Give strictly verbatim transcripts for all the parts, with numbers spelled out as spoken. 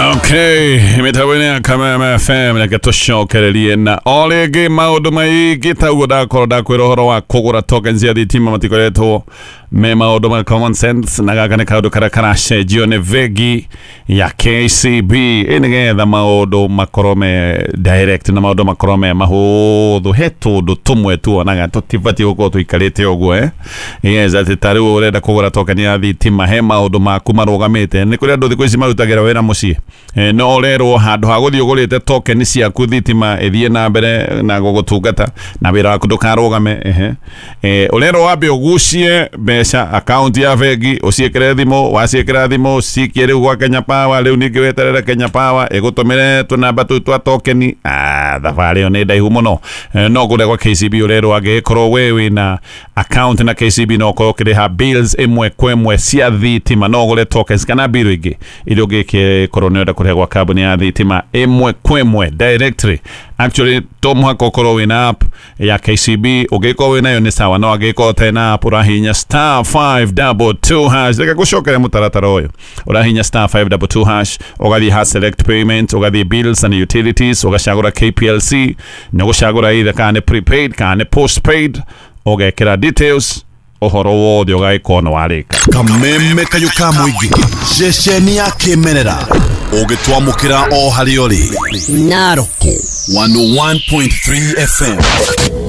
Okay, mĩtambo-inĩ ya Kameme F M, reke tũcokererie na o rĩngĩ maũndũ maingĩ ta ũguo. Ndakorwo ndakwĩra ũhoro wa kũgũra tokens cia thitima matikoretwo me maũndũ ma common sense, na gaka nĩ kaũndũ karĩa karacenjio nĩ bengi ya K C B ĩ nĩgetha maũndũ makorwo me direct na maũndũ makorwo me mahũthũ. He tũndũ tũmwe tuonaga tũtibatiĩ gũkorwo tũikarĩte ũguo, eh yes, atĩ ta rĩu ũrenda kũgũra token ya thitima, he maũndũ maku marũgamĩte. Nĩ kũrĩ andũ thikũ ici marutagĩra wĩra mũciĩ. Eh, no ũrerwo handũ ha gũthiĩ ũgũrĩte token ciaku, thitima ĩthiĩ na mbere na gũgũtungata na wĩra waku ndũkarũgame, ehe eh, ũrerwo wambe ũgucie mbeca akaunti ya bengi, ũciĩkĩre thimũ. Waciĩkĩra thimũ, cikie rĩu gwa Kenya Power. Rĩu ningĩ weterere Kenya Power ĩgũtũmĩre tũnamba tũu twa tokeni. Ah, thabarĩ ĩyo nĩ ndaihu mũno. Eh, no kũrĩa gwa K C B ũrerwo angĩgĩkorwo we wĩna account na K C B, no ũkorwo ũkĩrĩha bills ĩmwe kwa ĩmwe cia thitima, no ũgũre tokens kana bill ingĩ iria ũngĩkorwo nĩ ũrenda kũrĩha gwa kambuni ya thitima ĩmwe kwa ĩmwe directly. Actually, to mũhaka ũkorwo wĩna app ya K C B. Ũngĩkorwo wĩnayo nĩ sawa, no angĩkorwo ũtarĩ na app, ũrahihinya star five two two hash. Reke gũcokeria mũtaratara ũyũ: ũrahihinya star five two two hash, ũgathiĩ ha select payment, ũgathiĩ bills and utilities, ũgacagũra K P L C, nĩ ũgũcagũra either kana nĩ prepaid kana nĩ postpaid, ũgekĩra details, ũhoro wothe ũgagĩkorwo nĩ warĩka. Kameme kayũ ka mũingĩ, ceceni ya kĩmerera ũgĩtwamũkĩra o harĩa ũrĩ. Naroko one oh one point three F M.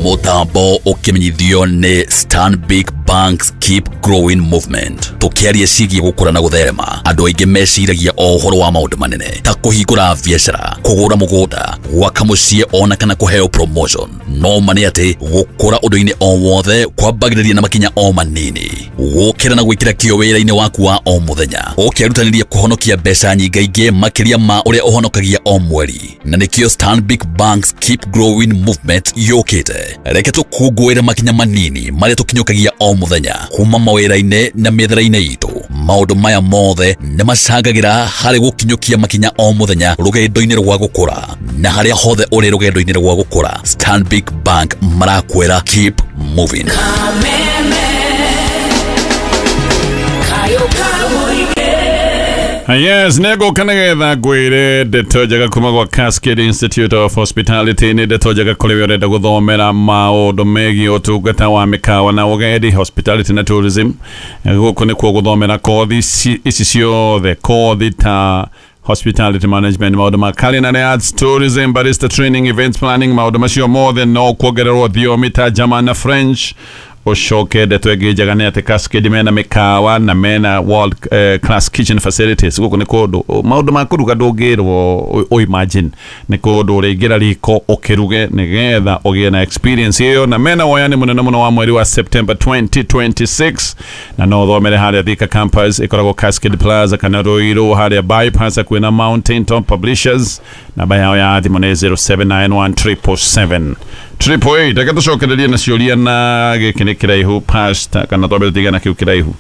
Mũtambo ũkĩmenyithio nĩ Stanbic Bank's Keep Growing Movement. Tũkĩaria ciĩgiĩ gũkũra na gũtherema, andũ aingĩ meciragia o ũhoro wa maũndũ manene ta kũhingũra biacara, kũgũra mũgũnda, gwaka mũciĩ ona kana kũheo promotion. No ma nĩ atĩ gũkũra ũndũ-inĩ o wothe kwambagĩrĩria na makinya o manini, gũkĩra na gwĩkĩra kĩo wĩra-inĩ waku wa o mũthenya, ũkĩrutanĩria kũhonokia mbeca nyingaingĩ makĩria ma ũrĩa ũhonokagia o mweri. Na nĩkĩo Stanbic Bank's Keep Growing Movement yũkĩte. Reke tũkũngũĩre makinya manini marĩa tũkinyũkagia o mũthenya kuma mawĩra-inĩ na mĩethere-inĩ itũ. Maũndũ maya mothe nĩ macangagĩra harĩ gũkinyũkia makinya o mũthenya rũgendo-inĩ rwa gũkũra. Na harĩa hothe ũrĩ rũgendo-inĩ rwa gũkũra, Stanbic Bank marakwĩra keep moving. Kameme kayo kamũingĩ. Yes, nĩngũka nĩgetha ngwĩre ndeto njega kuma gwa Cascade Institute of Hospitality. Nĩ ndeto njega kũrĩ we ũrenda gũthomera maũndũ megiĩ ũtungata wa mĩkawa na ũgendi, hospitality na tourism. Gũkũ nĩkuo gũthomera kothi ci- ici ciothe, kothi ta hospitality management, maũndũ ma culinary arts, tourism, barista training, events planning, maũndũ macio mothe, no kuongererwo thiomi ta German na French. Ũcoke ndeto ĩngĩ njega nĩ atĩ Cascade mena mĩkawa na mena world eh, class kitchen facilities. Gũkũ nĩ kũndũ maũndũ ma kũruga ndũngĩrwo ũ imagine, nĩ kũndũ ũrĩingĩra riko ũkĩruge nĩgetha ũgĩe na experience ĩyo. Na mena woyani mũnene mũno wa mweri wa September twenty twenty-six, na no ũthomere harĩa Thika campus ĩkoragwo Cascade Plaza, kana Ruiru harĩa bypass hakuhĩ na Mountain Top Publishers. Namba yao ya thimũ nĩ zero seven nine one triple seven triple eight. Reke tũcokererie na ciũria, na gĩkĩ nĩ kĩraihu, pastor, kana twambe tũtigana kĩu kĩraihu?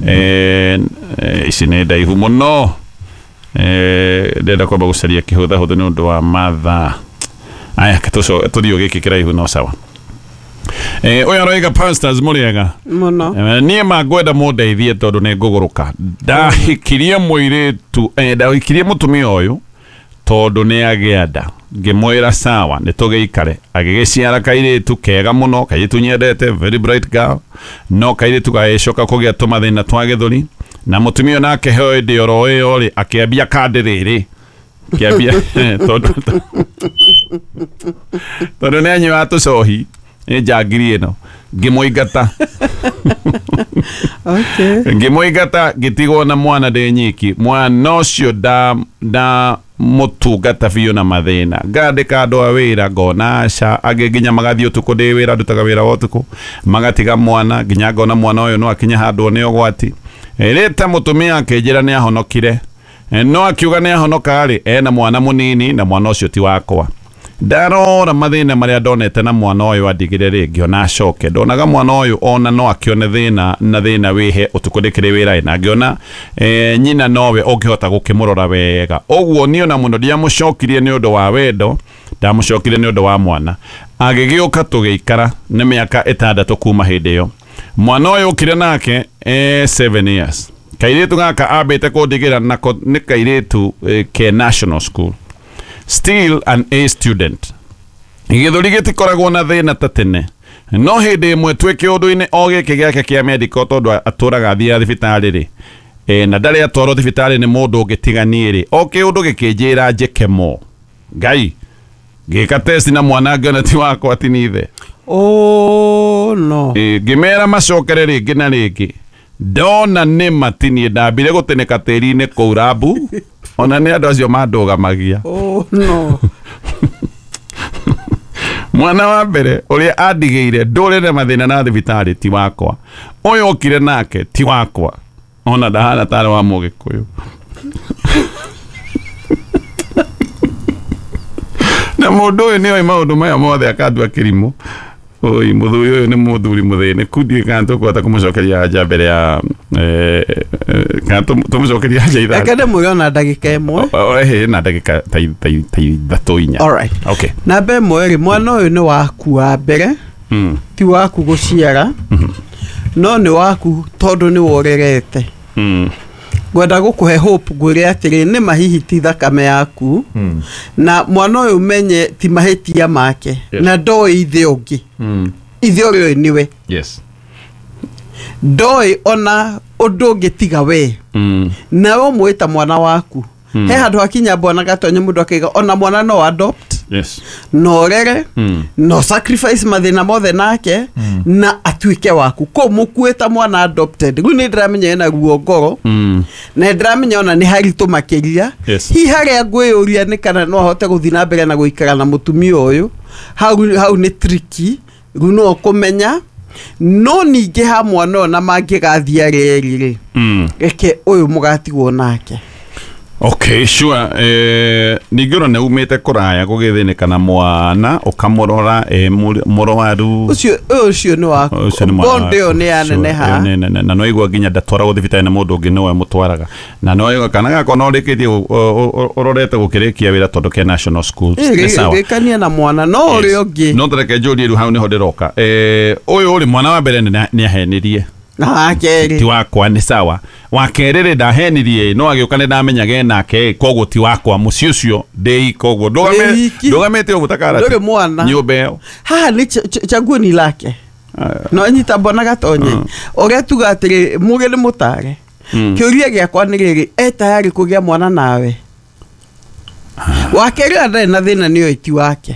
Eh, eh, ici nĩ ndaihu mũno. Eh, ndĩrenda kwamba gũcaria kĩhũthahũthũ nĩ ũndũ wa mathaa aya. Tũthiĩ gĩkĩ kĩraihu, no sawa. Eh, ũyũ aroiga, "Pastors, mũrĩega?" Mũno. Eh, niĩ ma ngwenda mũndeithie tondũ nĩ ngũgũrũka. Ndahikirie mũirĩtu, eh, ndahikirie mũtumia ũyũ tondũ nĩ agĩa nda. Ngĩmwĩra sawa, nĩ tũgĩikare. Agĩgĩciara kairĩtu kega mũno, kairĩtu nyendete, very bright girl, no kairĩtu gagĩcoka kũgĩa tũmathĩna twa gĩthũri, na mũtumia nake hĩndĩ oro ĩyo rĩ akĩambia kandi rĩrĩ kĩambia tondũ tondũ nĩ anyuaga tũcohi, nĩ njangiri ĩno. Ngĩmũingata." Okay. "Ngĩmũingata, ngĩtigwo na mwana ndĩ nyiki. Mwana ũcio nda nda mũtungata biũ na mathĩna. Ngandĩka andũ a wĩra, ngona aca. Angĩ nginya magathiĩ ũtukũ, ndĩ wĩra, ndutaga wĩra wa ũtukũ, magatiga mwana, nginya ngona mwana ũyũ no akinye handũ nĩ ũgwati. Rĩta mũtumia akĩnjĩra nĩ ahonokire. Eh, no akiuga nĩ ahonoka rĩ, ena mwana mũnini na mwana ũcio ti wakwa. Ndarora mathĩna marĩa ndonete na mwana ũyũ andigire rĩ, ngĩona acoke. Ndonaga mwana ũyũ ona no akĩone thĩna na thĩna wĩhe ũtukũ ndĩkĩrĩ wĩra, na ngĩona eh, nyina nowe ũngĩhota gũkĩmũrora wega. Ũguo niĩ ona mũno ndiamũcokirie nĩ ũndũ wa wendo, ndamũcokirie nĩ ũndũ wa mwana. Agĩgĩũka tũgĩikara, nĩ mĩaka ĩtandatũ kuma hĩndĩ ĩyo. Mwana ũyũ ũkire nake eh, seven years." Kairĩtu gaka ambĩte kũndigĩra nako nĩ kairĩtu eh, ke national school, still an A student. Gĩthũri gĩtikoragwo na thĩna ta tene, no hĩndĩ ĩmwe twĩ kĩũndũ-inĩ o gĩkĩ gĩake kĩa medical, tondũ atũraga athiaga thibitarĩ rĩ, e, na ndarĩ atwarwo thibitarĩ nĩ mũndũ ũngĩ tiga niĩ rĩ, o kĩũndũ gĩkĩnjĩra njĩke mo ngai ngĩka test na mwana ngĩona ti wakwa ti nĩ ithe. Oh no. E, ngĩmera macokere rĩngĩ na rĩngĩ, ndona nĩ matinie ndambire gũtĩnĩka tĩri-inĩ kũu rambu, ona nĩ andũ acio mandũgamagia. Oh no. Mwana wa mbere ũrĩa andigĩire ndũrĩre mathĩna na thibitarĩ ti wakwa, ũyũ okire nake ti wakwa, ona ndahana tarĩ wa mũgĩkũyũ. Na mũndũ ũyũ nĩoĩ maũndũ maya mothe akandua kĩrimũ. Oi, mũthuri ũyũ nĩ mũthuri mũthĩnĩku, ndiũĩ kana tũkũhota kũmũcokeria anja mbere ya eh, eh, kana tũmũcokeria anja ithatũ. Reke ndĩmwĩre ona ndagĩka ĩmwe. Ĩhĩ na ndagĩka ta ta ithatũ inya. Alright. Okay. Namba ĩmwe rĩ, mwana ũyũ nĩ waku wa mbere, Mm. ti waku gũciara, no nĩ waku tondũ nĩ worerete. Mm. Ngwenda gũkũhe hope ngwĩre atĩrĩ, nĩ ma hihi ti thakame yaku, na mwana ũyũ menye ti mahĩtia make, Yes. na ndoĩ ithe ũngĩ, Mm. ithe ũrĩa ũĩ nĩwe, Yes. ndoĩ ona ũndũ ũngĩ tiga we, Mm. nawe ũmwĩta mwana waku. He handũ hakinya bwana Gatonye mũndũ akaiga ona mwana no adopt, Yes. no rere, Mm. no sacrifice mathĩna mothe nake, na atuĩke waku. Kũ mũkuĩta mwana adopted, rĩu nĩ ndĩramenya ena ruo ngoro, Mm. na ndĩramenya ona nĩ haritũ makĩria. Yes. Hihi harĩa ngwĩyũria nĩ kana no ahote gũthiĩ na mbere na gũikara na mũtumia ũyũ, hau hau nĩ tricky, rĩu no ũkũmenya. No ningĩ ha mwana ũyũ na mangĩgathiĩ arĩa erĩ rĩ, Mm. reke ũyũ mũgatigwo nake. Okay, sure. Eh, ningĩ ona nĩ umĩte kũraya gũgĩthĩnĩka na mwana ũkamũrora eh, mũrwaru. Ũcio ũcio nĩ waku. Ũcio nĩ mwana Bond ĩyo nĩ yaneneha. Sure, ĩyo nĩ nene. Na no igua nginya ndatwaragwo thibitarĩ na mũndũ ũngĩ nĩwe mũtwaraga, na no igua kana gakwa no ũrĩkĩtie ũrorete gũkĩrĩkia wĩra tondũ ke national school. Nĩ sawa. Rĩkania na mwana no ũrĩa ũngĩ. No tareke njũrie rĩu hau nĩho ndĩroka. Eh, ũyũ ũrĩ mwana wa mbere nĩ ahenirie na wa kerĩ ti wakwa, nĩ sawa. Wa kerĩ rĩ ndahenirie, no agĩũka nĩ ndamenyage nake, koguo ti wakwa, mũciĩ ũcio ndĩ koguo ndũgamĩte ũguo ta karati, ndũrĩ mwana nyũmba ĩyo haha nĩ chaguo ni lake. No nyita bwana Gatonye ũrĩa tuga atĩrĩ, mũgĩ nĩ mũtare. Kĩũria gĩakwa nĩ rĩrĩ, e tayari kũgĩa mwana nawe? Wa kerĩ ndarĩ na thĩna nĩ oĩ ti wake,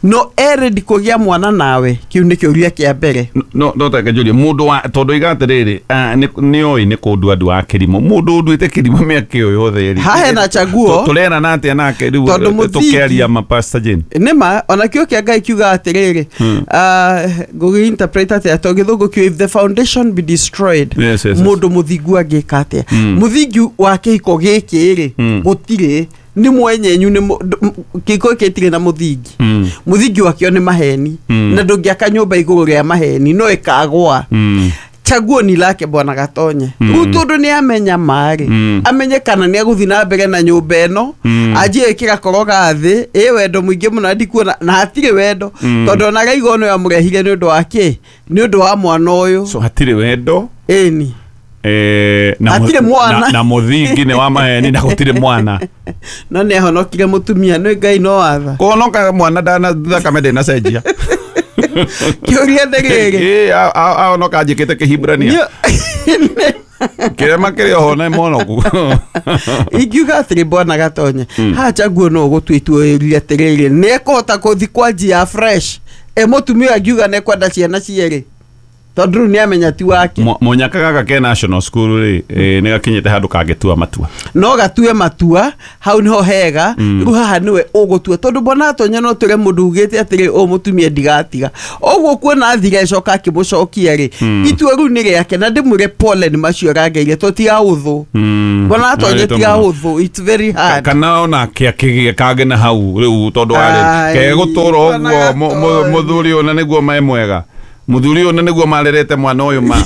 no e ready kũgĩa mwana nawe? Kĩu nĩ kĩũria kĩa mbere. No no tareke njũrie mũndũ wa tondũ iga atĩrĩrĩ, nĩ oĩ nĩ kũndua andũ a kĩrimũ, mũndũ ũnduĩte kĩrimũ mĩaka ĩyo yothe rĩ, haha hena chaguo tũrerana atĩa nake rĩu tũkĩaria ma Pastor Jane? Nĩma ona kĩo kĩa Ngai kiuga atĩrĩrĩ, ngũgĩ interpret atĩa to gĩthũngũ kĩu, if the foundation be destroyed, mũndũ mũthingu angĩka atĩa? Mũthingi wa kĩhiko gĩkĩ rĩ, gũtirĩ, nĩ mwenyenyu, nĩ kĩhiko gĩkĩ gĩtirĩ na mũthingi. Mũthingi wakĩo nĩ maheni, na ndũngĩaka nyũmba igũrũ rĩa maheni, no ĩkagũa. Chaguo ni lake bwana Gatonye. Rĩu tondũ nĩ amenya marĩ, amenye kana nĩ egũthiĩ na mbere na nyũmba ĩno, anjie ĩkĩra koroga thĩ, ĩ wendo mũingĩ mũno ndikuona, na hatirĩ wendo, tondũ ona Raigo nĩwe amũrehire nĩ ũndũ wa kĩ? Nĩ ũndũ wa mwana ũyũ. So hatirĩ wendo. Ĩni. Eh, na hatirĩ mwana. Na, na mũthingi nĩ wa maheni na gũtirĩ mwana. No nĩ ahonokire mũtumia, nĩ Ngai no watha. Kũhonoka mwana ndana thakame ndĩnacenjia. Kĩũria nĩ rĩrĩ, Ĩ ahonoka njĩkĩte kĩhibrania kĩrema kĩrĩ oho nĩ monoku. Ingiuga atĩrĩ bwana Gatonye, haha chaguo no ũgũtua itua ũyũrie atĩrĩrĩ, nĩ ekũhota gũthiĩ kwa njia fresh, e mũtumia angiuga nĩ ekwenda ciana cierĩ, tondũ rĩu nĩ amenya ti wake. Mũnyaka gaka ke national school rĩ, nĩ gakinyĩte handũ kangĩtua matua. No gatue matua, hau nĩho hega. Rĩu haha nĩwe ũgũtua, tondũ bwana Gatonye no tũre mũndũ ugĩte atĩrĩ, ũyũ mũtumia ndigatiga. Ũguo kuona athire acoka akĩmũcokia rĩ, itua rĩu nĩ rĩake, na ndĩmwĩre pole nĩ macio arangeire, tondũ ti ahũthũ. Bwana Gatonye ti ahũthũ, it's very hard. Kana onake akĩgĩe kangĩ na hau rĩu, tondũ arĩ kegũtũra ũguo mũthuri ũyũ na nĩguo me mwega. Mũthuri ũyũ nĩguo marerete mwana ũyũ ma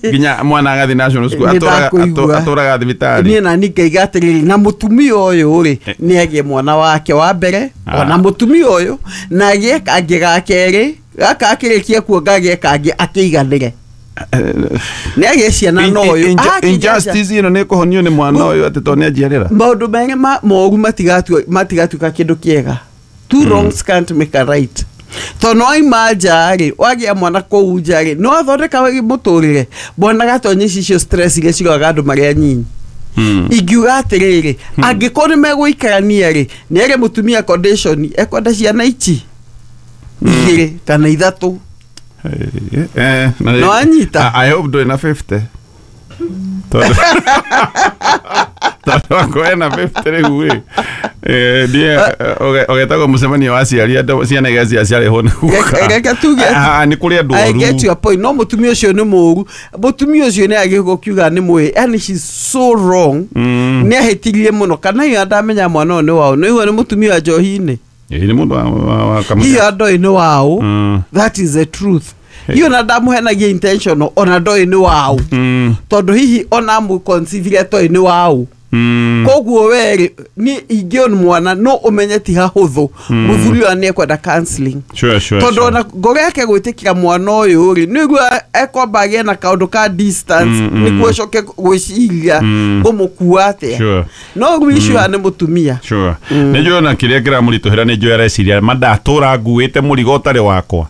nginya mwana agathiĩ national school, atũraga thibitarĩ. Niĩ nani ngaiga atĩrĩrĩ, na mũtumia ũyũ rĩ, nĩ agĩe mwana wake wa mbere, ona mũtumia ũyũ na agĩe kangĩ ga kerĩ, gaka akĩrĩkia kuonga agĩe kangĩ akĩiganĩre. Nĩ agĩe ciana na ũyũ. Injustice ĩno nĩ kũhonio nĩ mwana ũyũ atĩ tondũ nĩ anjiarĩra. Maũndũ merĩ ma moru matigatua matigatuĩka kĩndũ kĩega. Two wrongs can't make a right. Tondũ no waima nja rĩ, wagĩa mwana kũu nja rĩ, no athondeka mũtũrĩre. Mwana gatonye icio stress iria ciroraga andũ marĩ anyinyi. Ingiuga atĩrĩrĩ, angĩkorwo nĩ megũikarania rĩ, nĩ ere mũtumia condition ekwenda ciana ici igĩrĩ kana ithatũ. Eh, No anyita. I hope ndũrĩ na fifty. Tondũ tondũ akorwo ena fifty rĩu rĩ, eh, ndiĩ ũgetagwo mũcemanio wa aciari andũ ciana iria ciaciarĩhwo nĩ guka. Reke tuge Ah, nĩ kũrĩ andũ I oru. get your point. No mũtumia ũcio nĩ mũru. Mũtumia ũcio nĩ agĩrĩirwo kiuga nĩ mũĩ. Yani she's so wrong. Nĩ ahĩtirie mũno. Kana hiyo ndamenya mwana ũyũ nĩ wao. Nĩ igua nĩ mũtumia wa njohi-inĩ. Ĩĩ, nĩ mũndũ wa- wa wa kamũira. Hiyo ndoĩ nĩ wao. Mm. That is the truth. Hiyo na ndamũhenagia intentional ona ndoĩ nĩ wao. Mm. Tondũ hihi ona amũconceive toĩ nĩ wao. Mm. Koguo werĩ niĩ ingĩona mwana no ũmenye ti hahũthũ mũthuri ũyũ nĩ ekwenda counseling. Sure, sure, Tondũ sure. ona ngoro yake gwĩtĩkĩra mwana ũyũ rĩ, nĩguo ekwamba agĩe na kaũndũ ka distance Mm, mm. nĩguo acoke gwĩciria Mm. ngũmũkua atĩa. Sure. No rĩu issue haha nĩ mũtumia. Sure. Nĩ njũĩ ona kĩrĩa kĩramũritũhĩra nĩ njũĩ areciria ma ndatũra nguĩte mũrigo ũtarĩ wakwa.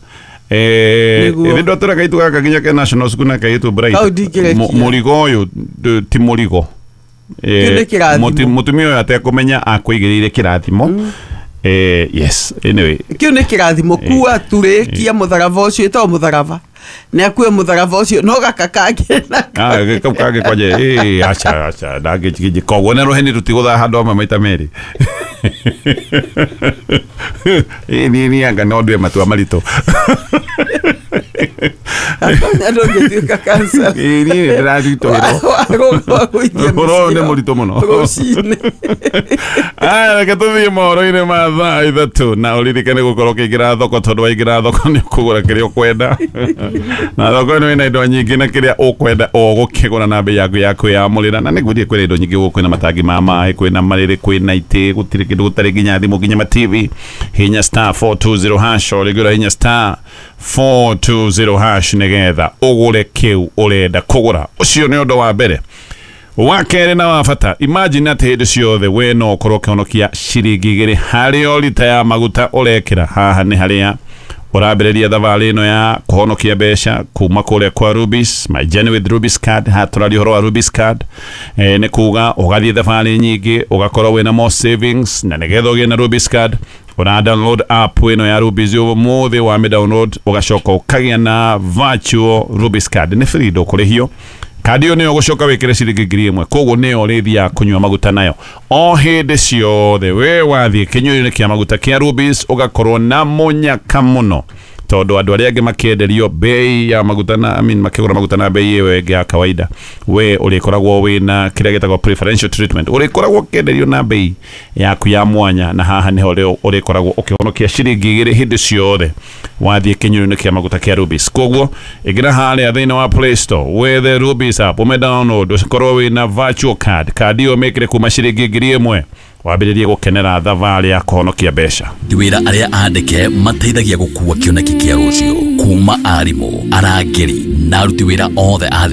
Eh, Nĩguo. ĩthĩ ndwatũra kaitu gaka nginya ke national school na kaitu Bright. Kau ndingĩrekia. Mu- Mũrigo ũyũ ndũ- ti mũrigo. Eh, Kĩu nĩ kĩrathimo. mũti- Mũtumia ũyũ atekũmenya akũigĩrĩire kĩrathimo. Eh, yes, anyway. Kĩu nĩ kĩrathimo kua turĩkia mũtharaba ũcio ĩtagwo mũtharaba. Nĩ akue mũtharaba ũcio no gaka kangĩ na Ah, kau kangĩ kwanje eh acha acha ndangĩnjigĩnjĩ koguo na rũheni rũtigũthaa handũ hamwe maita merĩ. Ĩ niĩ niĩ anga no ndue matua maritũ. Atonya ndũngĩtuĩka counselor. Ĩ niĩ nĩndĩraritũhĩrwo. Wa kũithia Ũhoro ũyũ nĩ mĩcira mũritũ mũno. rũcinĩ. Aya, reke tũthiĩ mohoro-inĩ ma thaa ithatũ na ũririkane gũkorwo ũkĩingĩra thoko tondũ waingĩra thoko nĩ ũkũgũra kĩrĩa ũkwenda na thoko ĩno ĩna indo nyingĩ na kĩrĩa ũkwenda ũgũkĩgũra na bei yaku ya kwĩyamũrĩra na nĩngwĩrire kwĩna indo nyingĩ gũkũ kwĩna matangi ma maĩ kwĩna marĩrĩ kwĩna itĩ gũtirĩ kĩndũ gũtarĩ nginya thimũ nginya ma T V. Hinya star four two zero hash o rĩngĩ ũra hinya star four two zero hash nĩgetha ũgũre kĩu ũrenda kũgũra. Ũcio nĩ ũndũ wa mbere. Wa kerĩ na wa bata, imagine atĩ hĩndĩ ciothe we no ũkorwo ũkĩhonokia ciringi igĩrĩ harĩ o rita ya maguta ũrekĩra. Haha nĩ harĩa ũrambĩrĩria thabarĩ ĩno ya kũhonokia mbeca kuma kũrĩa kwa Rubis, my journey with Rubis card. Haha tũraria ũhoro wa Rubis card. Eh, nĩ kuga ũgathiĩ thabarĩ nyingĩ ũgakorwo wĩna more savings na nĩgetha ũgĩe na Rubis card ũra download app ĩno ya Rubis ũmũthĩ wa mĩ download ũgacoka ũkagĩa na virtual Rubis card. Nĩ free ndũkũrĩhio. Kandi ĩyo nĩyo ũgũcoka wĩkĩre ciringi ngiri ĩmwe koguo nĩyo ũrĩthiaga kũnyua maguta nayo o hĩndĩ ciothe we wathiĩ kĩnyuĩro-inĩ kĩa maguta kĩa Rubis ũgakorwo na mũnyaka mũno tondũ andũ arĩa angĩ makĩenderio bei ya maguta na I mean, makĩgũra maguta na bei ĩyo ĩngĩ ya kawaida we ũrĩkoragwo wĩna kĩrĩa gĩtagwo preferential treatment ũrĩkoragwo ũkĩenderio na bei yaku ya mwanya na haha nĩho rĩo ũrĩkoragwo ũkĩhonokia ciringi igĩrĩ hĩndĩ ciothe wathiĩ kĩnyuĩro-inĩ kĩa maguta kĩa Rubis. Koguo ĩngĩra harĩa thĩinĩ wa Play Store wethe Rubis app ũme download ũkorwo wĩna virtual card kandi ĩyo mĩkĩre kuma ciringi ngiri ĩmwe wambĩrĩrie gũkenera thabarĩ ya kũhonokia mbeca. Wĩra arĩa andĩke mateithagia gũkua kĩoneki kĩa rũciũ kuma arimũ, arangĩri na aruti wĩra othe a thirikari.